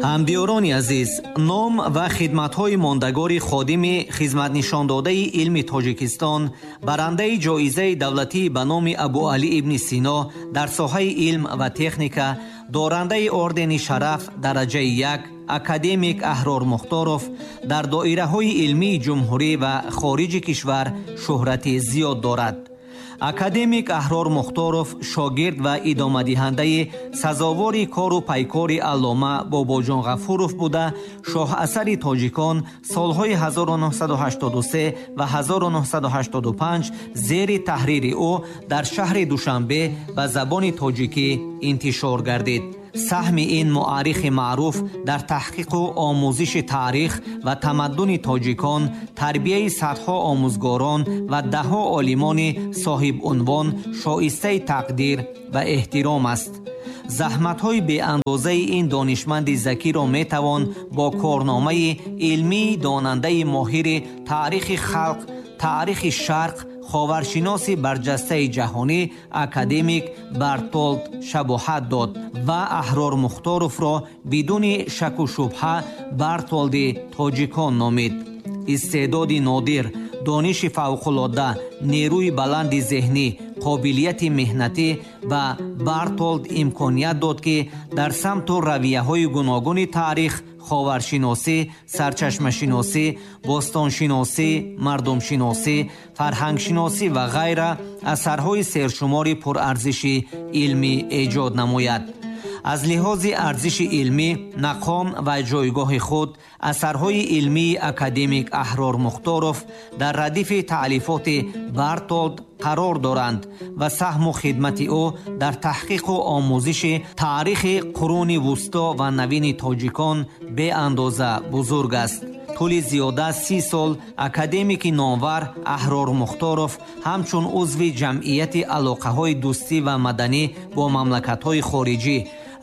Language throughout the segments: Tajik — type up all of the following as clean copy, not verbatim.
Ҳамдиёрони азиз, ном ва хидматҳои мондагори ходими хизматнишондодаи илми Тоҷикистон, барандаи ҷоизаи давлатӣ ба номи Абуалӣ ибни Сино дар соҳаи илм ва техника, дорандаи ордени Шараф дараҷаи як, академик Аҳрор Мухторов дар доираҳои илмии ҷумҳурӣ ва хориҷи кишвар шӯҳрати зиёд дорад. Академик Аҳрор Мухторов шогирд ва идомадиҳандаи сазовори кору пайкори аллома Бобоҷон Ғафуров буда, шоҳасари тоҷикон солҳои 1983 ва 1985 зери таҳрири ӯ дар шаҳри Душанбе ба забони тоҷикӣ интишор гардид. Саҳми ин муаррихи маъруф дар таҳқиқу омӯзиши таърих ва тамаддуни тоҷикон, тарбияи садҳо омӯзгорон ва даҳҳо олимони соҳибунвон шоистаи тақдир ва эҳтиром аст. Заҳматҳои беандозаи ин донишманди закиро метавон бо корномаи илмии донандаи моҳири таърихи халқ, таърихи шарқ, ховаршиноси барҷастаи ҷаҳонӣ академик Бартолд шабоҳат дод ва Аҳрор Мухторовро бидуни шаку шубҳа Бартолди тоҷикон номид. Истеъдоди нодир, дониши фавқулодда, нерӯи баланди зеҳнӣ, қобилияти меҳнатӣ ба Бартолд имконият дод, ки дар самту равияҳои гуногуни таърих, ховаршиносӣ, сарчашмашиносӣ, бостоншиносӣ, мардумшиносӣ, фарҳангшиносӣ ва ғайра асарҳои сершумори пурарзиши илмӣ эҷод намояд. Аз лиҳози арзиши илмӣ, мақом ва ҷойгоҳи худ асарҳои илмии академик Аҳрор Мухторов дар радифи таълифоти Бартолд қарор доранд ва саҳму хидмати ӯ дар таҳқиқу омӯзиши таърихи қуруни вусто ва навини тоҷикон беандоза бузург аст. Тӯли зиёда 30 сол академики номвар Аҳрор Мухторов ҳамчун узви ҷамъияти алоқаҳои дӯстӣ ва маданӣ бо мамлакатҳои хориҷӣ,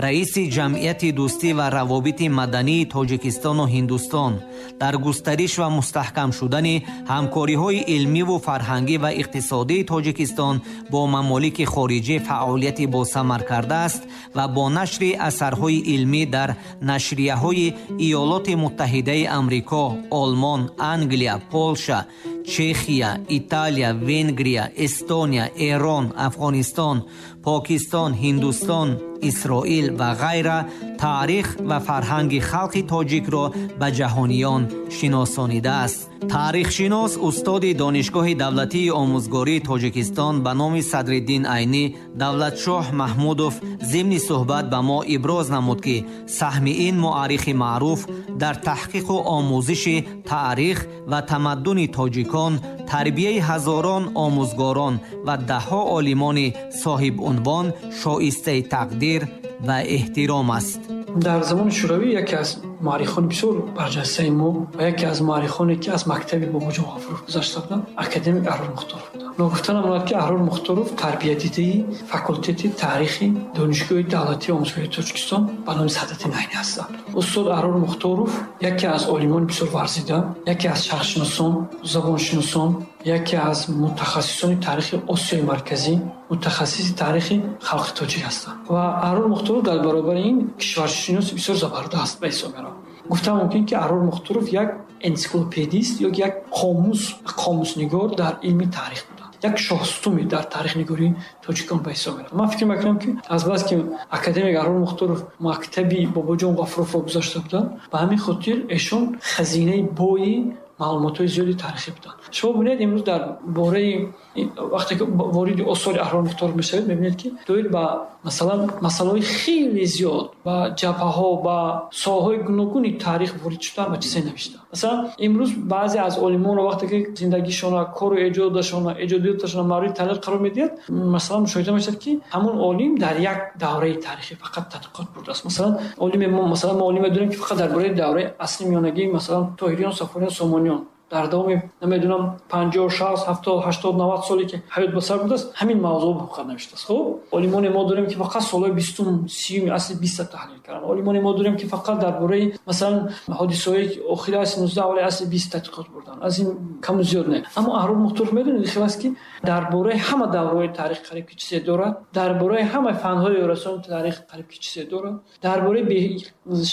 раиси ҷамъияти дӯстӣ ва равобити мадании Тоҷикистону Ҳиндустон дар густариш ва мустаҳкам шудани ҳамкориҳои илмиву фарҳангӣ ва иқтисодии Тоҷикистон бо мамолики хориҷӣ фаъолияти босамар кардааст ва бо нашри асарҳои илмӣ дар нашрияҳои Иёлоти Муттаҳидаи Амрико, Олмон, Англия, Полша, Чехия, Италия, Венгрия, Эстония, Эрон, Афғонистон, Покистон, Ҳиндустон, Исроил ва ғайра таърих ва фарҳанги халқи тоҷикро ба ҷаҳониён шиносонидааст. Таърихшинос, устоди Донишгоҳи давлатии омӯзгории Тоҷикистон ба номи Садриддин Айнӣ Давлатшоҳ Маҳмудов зимни суҳбат ба мо иброз намуд, ки саҳми ин муаррихи маъруф дар таҳқиқу омӯзиши таърих ва тамаддуни тоҷикон, тарбияи ҳазорон омӯзгорон ва даҳҳо олимони соҳибунвон шоистаи тақдир ва эҳтиром аст. Дар замони Шӯравӣ яке аз муаррихони бисёр барҷастаи мо ва яке аз муаррихоне, ки аз мактаби Бобоҷон Ғафуров гузашта буданд, академик Аҳрор Мухторов буданд. Ногуфта намонад, ки Аҳрор Мухторов тарбиятдидаи факултети таърихи Донишгоҳи давлатии омӯзгории Тоҷикистон ба номи Садриддин Айнӣ ҳастанд. Устод Аҳрор Мухторов яке аз олимони бисёр варзида, яке аз шарқшиносон, забоншиносон, яке аз мутахассисони таърихи Осиёи Марказӣ, мутахассиси таърихи халқи тоҷик ҳастанд. Ва Аҳрор Мухторов дар баробари ин кишваршиноси бисёр забардаст ба ҳисоб меравад. Гуфта мумкин, ки Аҳрор Мухторов як энсиклопедист ё як қомуснигор дар илми таърих буданд, як шоҳстуме дар таърихнигории тоҷикон ба ҳисоб меравад. Ман фикр мекунам, ки азбаски академик Аҳрор Мухторов мактаби Бобоҷон Ғафуровро гузашта буданд, ба ҳамин хотир эшон хазинаи бои маълумотҳои зиёди таърихӣ буданд. Шумо бинед, имрӯз дар бораи вақте ки вориди осори Аҳрор Мухторов мешавед, мебинед, ки доир ба масалан масъалаҳои хеле зиёд, ба ҷабҳаҳо, ба соҳаҳои гуногуни таърих ворид шудан ва чизе навиштанд. Масалан, имрӯз баъзе аз олимонро вақте ки зиндагишона, кору эҷодашона, эҷодиёташона мавриди таҳлил қарор медиҳад, масалан, мушоҳида мешавад, ки ҳамон олим дар як давраи таърихӣ фақат тадқиқот бурдааст. Масалан, олиме мо, масалан, мо олиме дорем, ки фақат дар бораи давраи асри миёнагӣ, масалан, Тоҳириён, Саффориён, Сомониён Дар давоми намедонам 50, 60, 70, 80, 90 соле ки ҳаёт ба сар бурдааст, ҳамин мавзӯъ фақат навиштааст. Хуб, олимони мо дорем, ки фақат солҳои 20-ум, 30-уми асри 20 таҳлил карданд. Олимони мо дорем, ки фақат дар бораи, масалан, ҳодисаҳои охири асри 19, аввали асри 20 тадқиқот бурданд. Аз ин каму зиёд не. Аммо Аҳрор Мухторов, медонед, хел аст, ки дар бораи ҳама давраҳои таърих қариб ки чизе дорад, дар бораи ҳама фанҳои ёрасони таърих қариб ки чизе дорад, дар бораи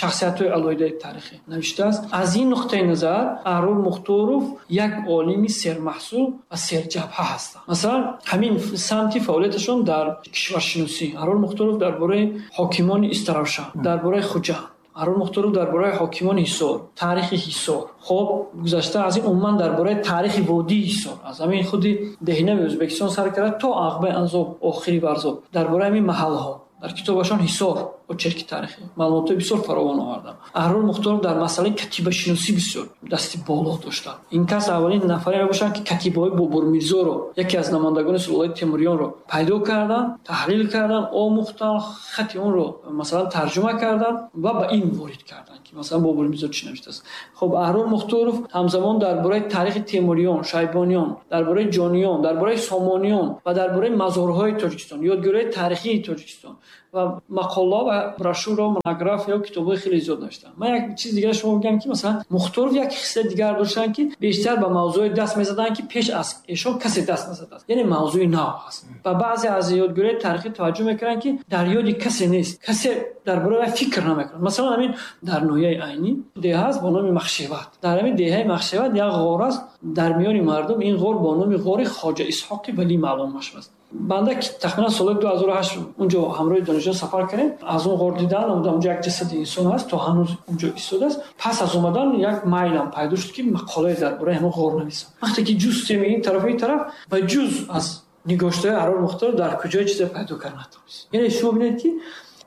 шахсиятҳои алоҳидаи таърихӣ навиштааст. Аз ин нуқтаи назар Аҳрор Мухторов як олими сермаҳсул ва серҷабҳа ҳастанд. Масалан, ҳамин самти фаъолияташон дар кишваршиносӣ. Аҳрор Мухторов дар бораи ҳокимони Истаравшан, дар бораи Хуҷанд, Аҳрор Мухторов дар бораи ҳокимони Ҳисор, таърихи Ҳисор. Хоб, гузашта аз ин, умуман дар бораи таърихи водии Ҳисор, аз ҳамин худи Деҳнави Ӯзбекистон сар карда то Ағбаи Анзоб, охири Варзоб, дар бораи ҳамин маҳалҳо дар китобашон «Ҳисор. Очерки таърихӣ» маълумотҳои бисёр фаровон оварданд. Аҳрор Мухторов дар масъалаи катибашиносӣ бисёр дасти боло доштанд. Ин кас аввалин нафаре мебошанд, ки катибаҳои Бобурмирзоро, яке аз намояндагони сулолаи Темуриёнро, пайдо карданд, таҳлил карданд, омӯхтанд, хати онро, масалан, тарҷума карданд ва ба илм ворид карданд, ки, масалан, Бобурмирзо чӣ навиштааст. Хуб, Аҳрор Мухторов ҳамзамон дар бораи таърихи Темуриён, Шайбониён, дар бораи Ҷониён, дар бораи Сомониён ва дар бораи мазорҳои Тоҷикистон, ёдгориҳои таърихии Тоҷикистон ва мақола ва брошюра, монография, китобҳои хеле зиёд навиштанд. Ман як чиз дигар шумо бигӯям, ки, масалан, Мухторов як хислати дигар доштанд, ки бештар ба мавзӯъҳое даст мезаданд, ки пеш аз эшон касе даст назадааст, яъне мавзӯи нав ҳаст. Ва баъзе аз ёдгориҳои таърихӣ таваҷҷӯҳ мекунанд, ки дар ёди касе нест, касе дар бораи вай фикр намекунад. Масалан, ҳамин дар ноҳияи Айнӣ деҳа аст бо номи Махшеват. Дар ҳамин деҳаи Махшеват як ғор аст. Дар миёни мардум ин ғор бо номи ғори Хоҷа Исҳоқи Валӣ маълум мешавад. Банда тахминан соли 2008 унҷо ҳамроҳи донишҷӯ сафар кардем. Аз он ғор дидан, унҷо як ҷасади инсон ҳаст, то ҳанӯз унҷо истодааст. Пас аз омадан як майлам пайдо шуд, ки мақолае дар бораи ҳамон ғор нависам. Вақте ки ҷустем ин тараф, ин тараф, ба ҷуз аз нигоштаҳои Аҳрор Мухторов дар куҷое чизе пайдо карда натавонист. Яъне шумо бинед, ки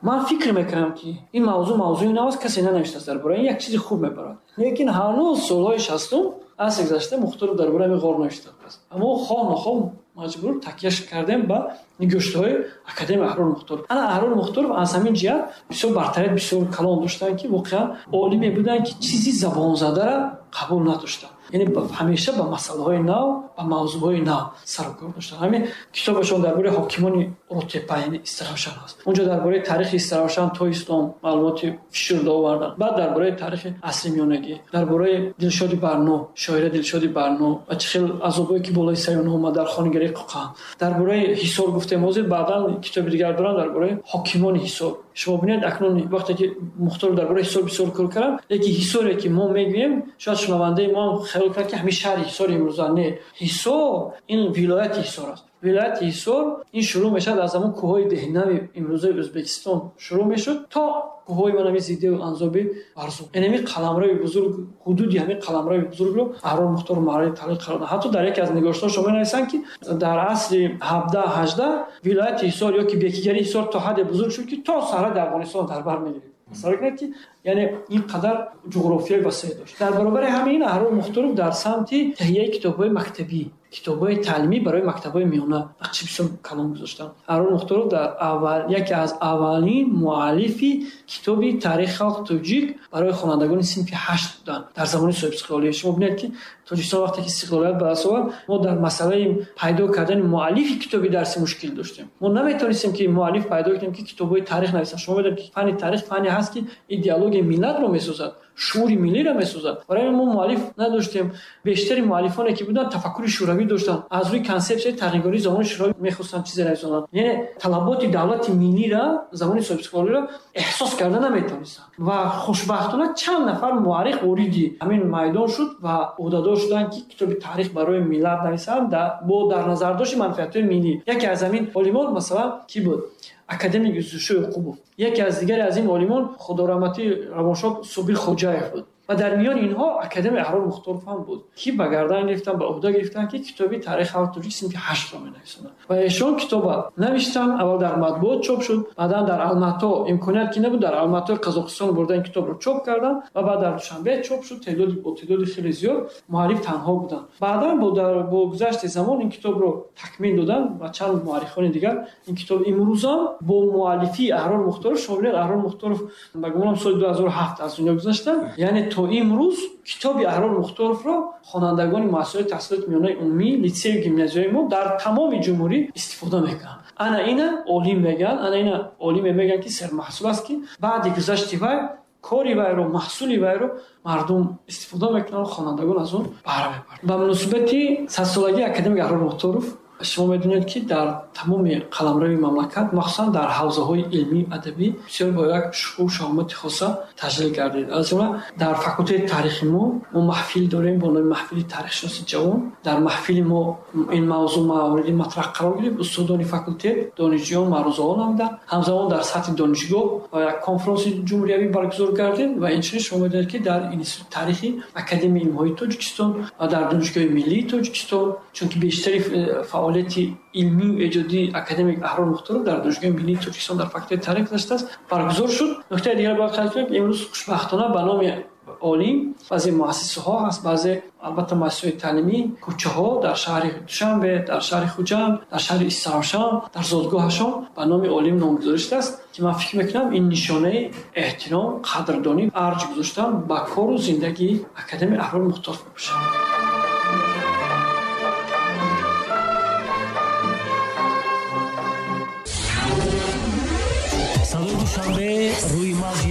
ман фикр мекунам, ки ин мавзӯъ мавзӯи нав аст, касе нанавиштааст дар бораи ин, як чизи хуб мебарад. Лекин ҳанӯз солҳои 60-ум асри гузашта Мухторов дар бораи ҳамин ғор навиштааст. Аммо хоҳ нохоҳ маҷбур такяш кардем ба нигоштаҳои академик Аҳрор Мухторов. Ана Аҳрор Мухторов аз ҳамин ҷиҳат бисёр бартарият бисёр калон доштанд, ки воқеан олиме буданд, ки чизи забонзадаро қабул надоштанд, яъне ҳамеша ба масъалаҳои нав, ба мавзӯъҳои нав сарукор доштанд. Ҳамин китобашон дар бораи ҳокимони Ротепа, яъне Истаравшан ҳаст. Унҷо дар бораи таърихи Истаравшан то ислом маълумоти фишурда оварданд. Баъд дар бораи таърихи асри миёнагӣ, дар бораи Дилшоди Барно, шоира Дилшоди Барно ва чӣ хел азобое ки болои сари онҳо омад дар хонигарии Қоқан. Дар бораи Ҳисор гуфтем ҳозир, баъдан китоби дигар доранд дар бораи ҳокимони Ҳисор. Шумо бинед, акнун вақте ки Мухторов дар бораи Ҳисор бисёр кор карданд, лекин Ҳисоре ки мо мегӯем, шояд шунавандаи мо ҳам хаёл кунад, ки ҳамин шаҳри Ҳисори имрӯза. Не, Ҳисор ин вилояти Ҳисор аст. Вилояти Ҳисор ин шурӯъ мешавад аз ҳамон кӯҳҳои Деҳнави имрӯзаи Ӯзбекистон шурӯъ мешуд то кӯҳҳои манами Зидеву Анзоби Варзоб. Яъне ҳамин қаламрави бузург, ҳудуди ҳамин қаламрави бузургро Аҳрор Мухторов мавриди таҳлил қарор дод. Ҳатто дар яке аз нигоштаҳо шумо менависанд, ки дар асри 17-18 вилояти Ҳисор ё ки бекигарии Ҳисор то ҳадде бузург шуд, ки то сарҳади Афғонистон дар бар мегирифт. Тасаввур кунед, ки яъне ин қадар ҷуғрофиёи васеъ дошт. Дар баробари ҳамин Аҳрор Мухторов дар самти таҳияи китобҳои мактабӣ, китобҳои таълимӣ барои мактабҳои миёна нақши бисёр калон гузоштанд. Аҳрор Мухторов дар аввал яке аз аввалин муаллифи китоби таърихи халқи тоҷик барои хонандагони синфи 8 буданд дар замони соҳибистиқлолӣ. Шумо бинед, ки Тоҷикистон вақте ки истиқлолият ба даст овард, мо дар масъалаи пайдо кардани муаллифи китоби дарсӣ мушкил доштем. Мо наметавонистем, ки муаллиф пайдо кунем, ки китобҳои таърих нависанд. Шумо медонед, ки фанни таърих фанне ҳаст, ки идеологияи миллатро месозад, шуури миллиро месозад. Барои мо муаллиф надоштем. Бештари муаллифоне ки буданд, тафаккури шӯравӣ доштанд, аз рӯи консепсияи тағйиргории замони шӯравӣ мехостанд чизе нависонанд, яъне талаботи давлати миллиро замони соҳибистиқлолиро эҳсос карда наметавонистанд. Ва хушбахтона чанд нафар муаррих вориди ҳамин майдон шуд ва ӯҳдадор шуданд, ки китоби таърих барои миллат нависанд бо дар назардошти манфиатҳои миллӣ. Яке аз ҳамин олимон, масалан, кӣ буд? Академик Юсуфшо Ёқубов. Яке аз дигаре аз ин олимон, худораҳматӣ, равоншод Собир Хоҷаев буд. Ва дар миёни инҳо академик Аҳрор Мухторов ҳам буд, ки ба гардан гирифтанд, ба ӯҳда гирифтанд, ки китоби таърихи халқи тоҷик синфи 8-ро менависонанд. Ва эшон китоба навиштанд. Аввал дар матбуот чоп шуд, баъдан дар Алмато имконият ки набуд, дар Алматои Қазоқистон бурда ин китобро чоп карданд ва баъд дар Душанбе чоп шуд, бо теъдоди хеле зиёд. Муаллиф танҳо буданд. Баъдан бо гузашти замон ин китобро такмил доданд ва чанд муаррихони дигар. Ин китоб имрӯзам бо муаллифии Аҳрор Мухторов. Шумо бинед, Аҳрор Мухторов, ба гумонам, соли 2007 аз дунё гузаштанд, яъне то То имрӯз китоби Аҳрор Мухторовро хонандагони муассисаҳои таҳсилоти миёнаи умумӣ, литсею гимназияҳои мо дар тамоми ҷумҳурӣ истифода мекунанд. Ана ина олим мегӯянд, ана ина олиме мегӯянд, ки сермаҳсул аст, ки баъди гузашти вай кори вайро, маҳсули вайро мардум истифода мекунанд, хонандагон аз он баҳра мебаранд. Ба муносибати 100-солагии академик Аҳрор Мухторов шумо медонед, ки дар тамоми қаламрави мамлакат, махсусан дар ҳавзаҳои илмӣ адабӣ бисёр бо як шукӯҳу шаҳомати хоса таҷлил гардид. Аз ҷумла дар факултети таърихи мо маҳфил дорем бо номи маҳфили таърихшиноси ҷавон. Дар маҳфили мо ин мавзӯъ мавриди матраҳ қарор гирифт. Устодони факултет, донишҷӯён маърузаҳо намуданд. Ҳамзамон дар сатҳи донишгоҳ як конфронси ҷумҳуриявӣ баргузор гардид ва инчунин шумо медонед, ки дар институти таърихи Академияи илмҳои Тоҷикистон ва дар Донишгоҳи миллии Тоҷикистон, чунки бештари фаъолияти илмию эҷодии академик Аҳрор Мухторов дар Донишгоҳи миллии Тоҷикистон дар факултети таърих гузаштааст, баргузор шуд. Нуктаи дигар бояд қайд кунем, ки имрӯз хушбахтона ба номи олим баъзе муассисаҳо ҳаст, баъзе албатта муассисаҳои таълимӣ, кӯчаҳо дар шаҳри Душанбе, дар шаҳри Хуҷанд, дар шаҳри Истаравшан, дар зодгоҳашон ба номи олим номгузорӣ шудааст, ки ман фикр мекунам ин нишонаи эҳтиром, қадрдонӣ, арҷ гузоштан ба кору зиндагии академик Аҳрор Мухторов мебошад. Садои Душанбе рӯи мавҷи